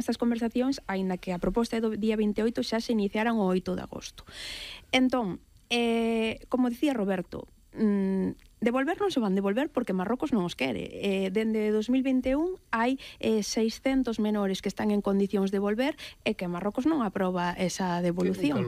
estas conversacións, aínda que a proposta é do día 28 xa se iniciaran o 8 de agosto. Entón, como dicía Roberto, devolver non se van devolver porque Marrocos non os quere. Dende 2021 hai 600 menores que están en condicións de volver e que Marrocos non aproba esa devolución.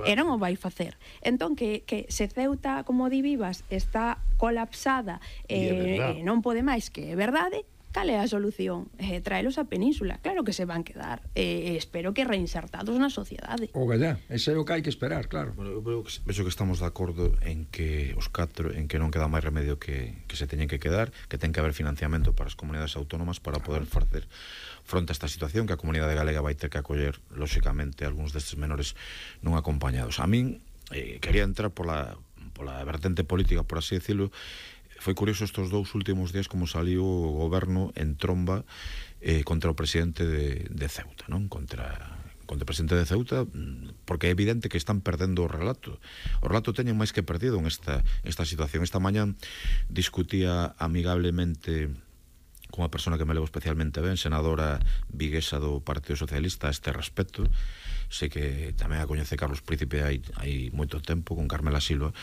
E non o vai facer. Entón, que se Ceuta, como di Vivas, está colapsada e non pode máis, que é verdade, cal é a solución? Traelos a Península. Claro que se van quedar. Espero que reinsertados na sociedade. O gallá, ese é o que hai que esperar, claro. Bueno, eu vexo que estamos de acordo en que os catro, en que non queda máis remedio que se teñen que quedar, que ten que haber financiamento para as comunidades autónomas para poder facer fronte a esta situación, que a comunidade galega vai ter que acoller, lóxicamente, algúns destes menores non acompañados. A min, quería entrar pola vertente política, por así decirlo. Foi curioso estes 2 últimos días como saliu o goberno en tromba contra o presidente de Ceuta, non? Contra o presidente de Ceuta, porque é evidente que están perdendo o relato. O relato teñen máis que perdido en esta situación. Esta mañá discutía amigablemente con unha persona que me levo especialmente ben, senadora viguesa do Partido Socialista, a este respecto. Sei que tamén a coñece Carlos Príncipe hai moito tempo, con Carmela Silva,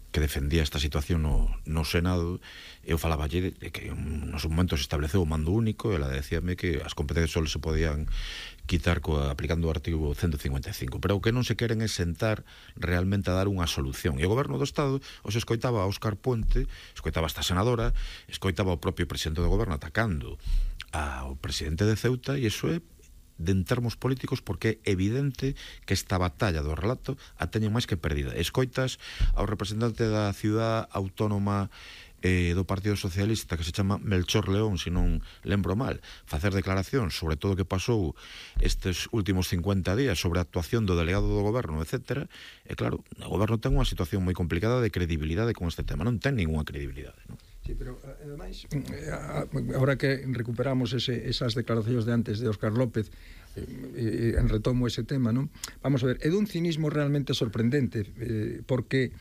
que defendía esta situación no Senado. Eu falaballe de que nos momentos se estableceu o mando único, e ela decíame que as competencias só se podían quitar aplicando o artigo 155, pero o que non se queren é sentar realmente a dar unha solución. E o goberno do Estado os escoitaba a Óscar Puente, escoitaba esta senadora, escoitaba o propio presidente do goberno atacando ao presidente de Ceuta, e iso é en termos políticos, porque é evidente que esta batalla do relato a teñen máis que perdida. Escoitas ao representante da ciudad autónoma do Partido Socialista, que se chama Melchor León, se non lembro mal, facer declaracións sobre todo o que pasou estes últimos 50 días, sobre a actuación do delegado do goberno, etc. E claro, o goberno ten unha situación moi complicada de credibilidade con este tema, non ten ninguna credibilidade, non? Sí, pero ademais, ahora que recuperamos esas declaracións de antes de Óscar López, retomo ese tema, non? Vamos a ver, é dun cinismo realmente sorprendente, porque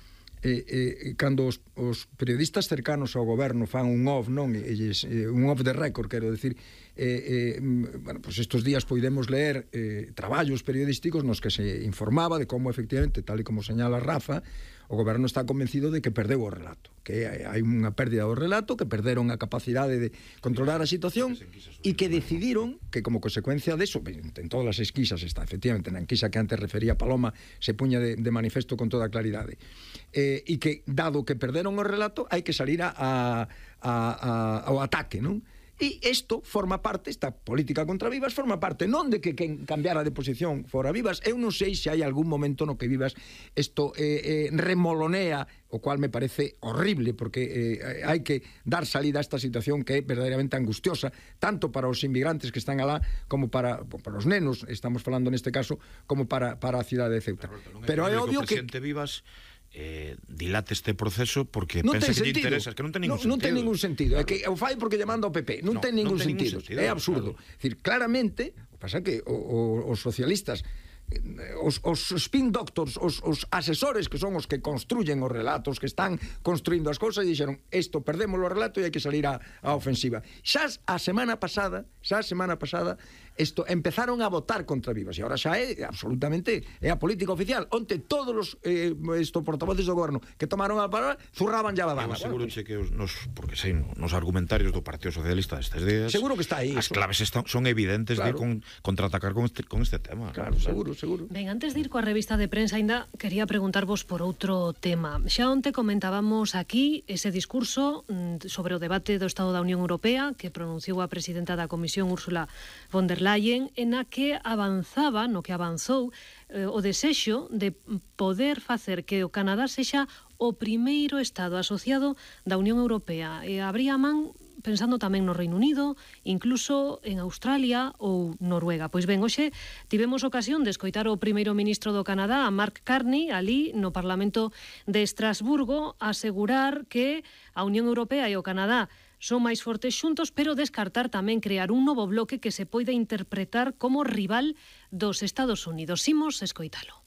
cando os periodistas cercanos ao goberno fan un off, non? Un off de récord, quero decir, bueno, pues estos días podemos leer traballos periodísticos nos que se informaba de como efectivamente, tal e como señala Rafa, o goberno está convencido de que perdeu o relato, que hai unha pérdida do relato, que perderon a capacidade de controlar a situación e que decidiron que como consecuencia deso, en todas as esquisas está, efectivamente, na enquisa que antes refería Paloma se puña de manifesto con toda claridade, e que dado que perderon o relato hai que salir ao ataque, non? E isto forma parte, esta política contra Vivas forma parte non de que cambiara de posición fora Vivas. Eu non sei se hai algún momento no que Vivas isto remolonea, o cual me parece horrible, porque hai que dar salida a esta situación que é verdadeiramente angustiosa, tanto para os inmigrantes que están alá como para os nenos, estamos falando neste caso, como para a cidade de Ceuta. Pero é obvio que o presidente Vivas dilate este proceso porque pensa que lle interesa, que non ten ningún sentido. Non ten ningún sentido, é que o fai porque lle manda ao PP, non ten ningún sentido, é absurdo. É dicir, claramente, o que pasa é que os socialistas, os spin doctors, os asesores que son os que construyen os relatos, que están construindo as cousas, e dixeron, isto perdemos o relato e hai que salir á ofensiva. Xa a semana pasada isto empezaron a votar contra Vivas, e agora xa é absolutamente é a política oficial. Onte todos os portavoces do goberno que tomaron a palabra zurraban ya a dama. Eu aseguroche que porque sei, nos argumentarios do Partido Socialista destes días, seguro que está aí. As claves son evidentes, claro, de contraatacar con este tema. Claro, seguro. Ben, antes de ir coa revista de prensa, ainda quería preguntarvos por outro tema. Xa onte comentábamos aquí ese discurso sobre o debate do Estado da Unión Europea que pronunciou a presidenta da Comisión, Ursula von der Leyen, en a que avanzaba, no que avanzou, o desexo de poder facer que o Canadá sexa o primeiro Estado asociado da Unión Europea. E abría man pensando tamén no Reino Unido, incluso en Australia ou Noruega. Pois ben, hoxe tivemos ocasión de escoitar o primeiro ministro do Canadá, a Mark Carney, ali no Parlamento de Estrasburgo, asegurar que a Unión Europea e o Canadá son máis fortes xuntos, pero descartar tamén crear un novo bloque que se poida interpretar como rival dos Estados Unidos. Imos escoitalo.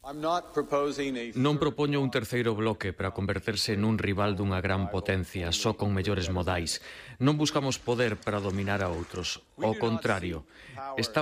Non propoño un terceiro bloque para converterse nun rival dunha gran potencia, só con mellores modais. Non buscamos poder para dominar a outros. Ao contrario, estamos